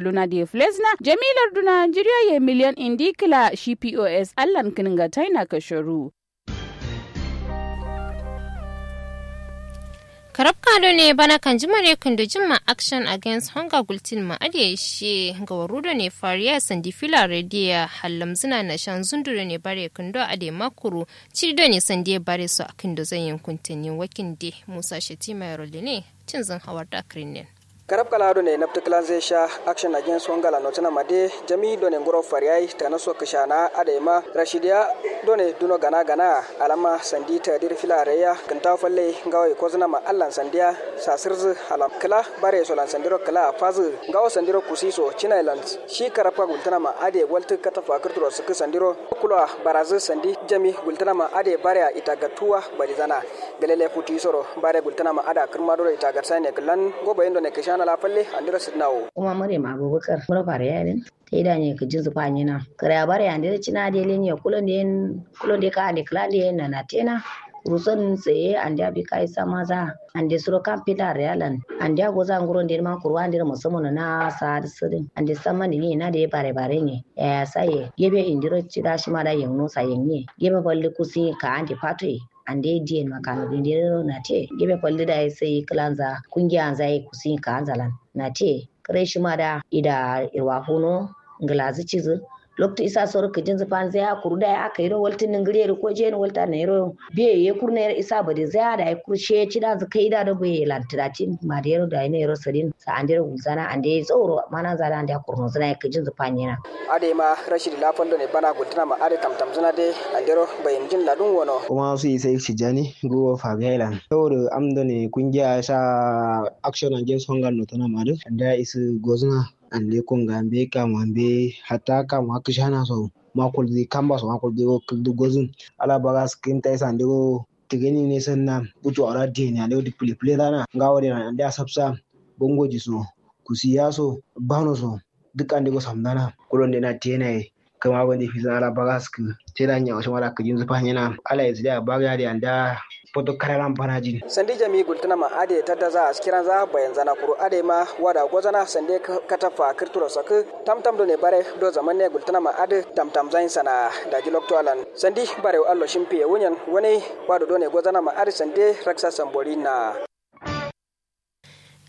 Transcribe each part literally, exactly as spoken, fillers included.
duna de flezna jami larduna njiriya ye miliyan indi kla shi pos allan kǝnǝnga taina kasharu. Karabka done bana kanjima re kǝndo jimma action against hunger gultin ma adǝ ye shiye ngawaru done fariya sandi fila rediya hallamzǝna nashan zundu done bare kǝndo adǝ ye makuru cidi done sandi ye bare so akǝndo zanyen kuntǝnni wakinde musa shetima yero lene cinzǝn hawarda kǝrinen. Karabka la done nabtǝ kǝlanzǝ ye sha action against hunger la notǝna ma de jami done nguro fariya ye tanaso kǝshana adǝ ye ma rashidiya done duno gana gana alamma sandi tadir fila reya kǝntawo falle ngawo ye kozǝna ma allan sandiya sasǝrzǝ halam kǝla bare ye so lan sandiro kǝla afazǝ ngawo sandiro kusi so cina ye lan shi karabka gultǝna ma adǝ ye waltǝ katafa kǝrturo sǝkkǝ sandiro kulo a barazǝ sandi jami gultǝna ma adǝ ye bare a itagattuwa badizana. Gǝlele futu isoro bare gultǝna ma adǝ a kǝrma duro itagatsa ne kǝllan ngo bayin done kǝshana la falle andiro sǝdǝna wo. Kuma maryam abubakar mura fare yayi din. Taida nye kǝjinzǝ fanyena kǝraya bare andiro cina de lenye kulonde yen kulonde ka ande kǝlande yen nanatena. Kuruson seye ande abi kayi samaza ande suro kam filar yalan ande agoza nguronde ma kuru andiro musamman na sa dǝ sǝdǝn ande samman dǝ nye na de bare bare nye. Yaya saye gebe indiro cida shima da yengno sa yenye gebe falli kusi ka ande fatoye. Ande diyen ma kano dindero nate gebe falli dayi sai kǝlanza kungiyanza ye kusi kaanza lan nate. Kǝre shima da ida irwa funo ngǝlazǝ cizǝ loktu isa soro kǝjinzǝ fanzǝ ya kuru dayi aka yiro waltǝ nǝngǝriyero ko jiyen walta nayiro biye ye kuru nayiro isa badinzǝ ya dayi kuru shiye cidanzǝ kaida do buye lan tǝdatin madero dayi nayiro sǝdin. Sa andero gulzana ande zauro mananza da ande akurno zǝna ye kǝjinzǝ fanyena. Adǝ ye ma rashidi la fal done bana gultǝna ma adǝ tamtamzǝna de andero bayinjin ladun wono. Kuma su isai shijani guwo fabiya ilan saboda am done kungiya sha action against hunger notǝna ma adǝ ande ya isǝ gozǝna. Ande konga mbe kama mbe hatta kama kǝshana so makuldi kamba so makuldi wo kǝldi gozǝn. Ala baga sǝkǝnta isa ande wo tǝgǝni ne sanna butu aura diyeni ande wo dipple pǝle zana ngawo de ande asabsa. Bongoji so kusiya so bano so duk ande go samdana. Kulonde na tena ye kǝma bande fizǝna ala baga sǝkkǝ tena nyawo shima da kǝjinzǝ fanyena. Ala ye sǝdiya baga yade ande a foto kararan banajin. Sandi jami gultǝna ma adǝ ye taddaza askiranza bayanzana kuru adǝ ye ma wada gozana sande kataffa kǝrturo sakkǝ. Tamtam done bare do zaman ne gultǝna ma adǝ tamtam zayin sana daji loktu alan sandi barewu allo shimfiye wunyen wune. Wado done gozana ma adǝ sande raksa samborinna.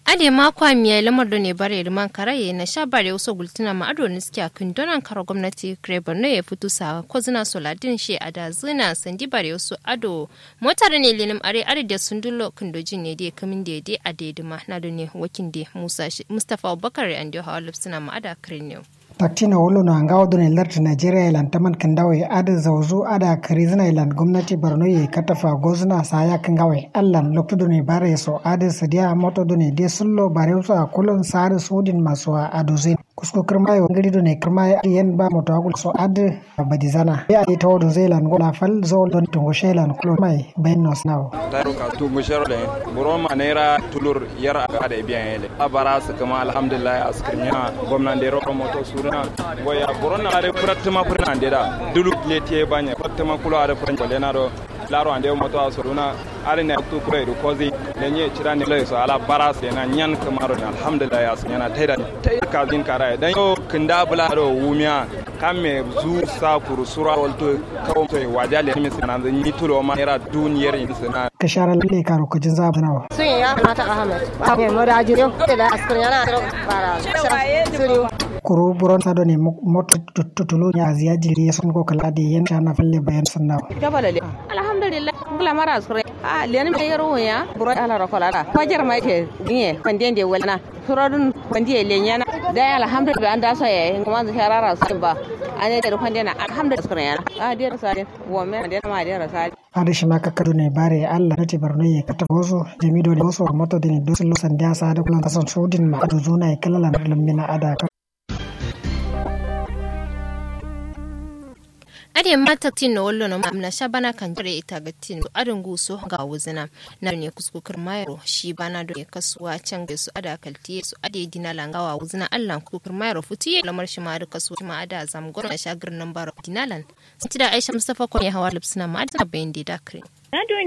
Adǝ ye ma kwa miya lamar done bare dǝ man karaye nasha barewu so gultǝna ma adǝ wo niskiya kǝn donan karo gomnati kǝre borno ye futu sa kozǝna so ladin she adazǝna sandi barewu so adǝ wo mota done lenǝm are adǝ de sundullo kǝndo jin ne de kǝmin de de adǝ ye dǝma na done wakin de musa mustafa abubakar ye ande wo hawa lubsǝna ma adǝ a kǝrin ne wo. Taktino wullono a ngawo done lartǝ najeriya ye lan taman kǝndawo ye adǝ zauzu adǝ a kǝrizǝna ye lan gomnati borno ye katafa gozǝna sa yakkǝ ngawo ye allan loktu done bare ye so adǝ sǝdiya moto done de sullo barewu so a kulon sa adǝ sudin ma so a adozin. Kusko kǝrma ye ngǝri done kǝrma ye adǝ yen ba moto a gulso adǝ badizana be adǝ tawo dozai lan gola fal zol done tungushe lan kulo mai bayin no sǝnawo. Taro ka tungushe ro le buro ma naira tulur yar aga adǝ biyan ye le. Abara sǝkkǝma alhamdulillahi askǝrmiya gomnande ro moto suruna. Goya buron na adǝ fǝrattǝma fǝrǝna ande da dulu letiye banye fǝrattǝma kulo adǝ fǝran kolena do. Laro ande moto a suruna adǝ ne aktu kuro edu kozi. Lenye cida ne lai so ala bara sena nyan kǝmaro ne alhamdulillahi askǝnyana taida taida kazin karaye dan yo kǝnda bula do wumiya. Kamme zu sa kuru sura walto kawo soyi waja lenimi sena nyi tulo ma naira dun yeri sena. Kǝshara lalle karo kǝjin za bǝnawa. Sun ya mata ahmed. Ahmed mada jiri yau kila askar yana tiro bara siriu. Kuru buron sado ne moto tutulu ne aziya jiri ya sun ko kala de yen shana falle bayan sunna. Gaba lalle alhamdulillah. Ngla mara askar a leni me yaro ya buron ala rokola da fajar mai ke diye fande de walna. Surodun fande lenyana. Dai alhamdulillah an da so yayi kuma zu sharara su ba. Ane de fande na alhamdulillah askar yana a de so ade. Wome ande ma de so ade. Adǝ shima kakkadu ne bare allah nati borno ye kata gozo jami done gozo moto dǝne dusullo sandiya sa adǝ kulan kasan sudin ma adǝ zuna ye kǝlalan lǝmmina adǝ a kam. Adǝ ye ma taktin no wallo no ma amna sha bana kanjire ita gattin adǝ nguso ngawo zǝna. Na done kusko kǝrma yero shi bana done kasuwa cange so adǝ a kaltiye so adǝ ye dinalan ngawo wuzǝna allan kusko kǝrma yero futu ye lamar shima adǝ kasuwa shima adǝ a zamgo na sha gǝrnǝm baro dinalan. Santida aisha mustafa kone hawa lubsǝna ma adǝ zǝna bayin de dakre. Na done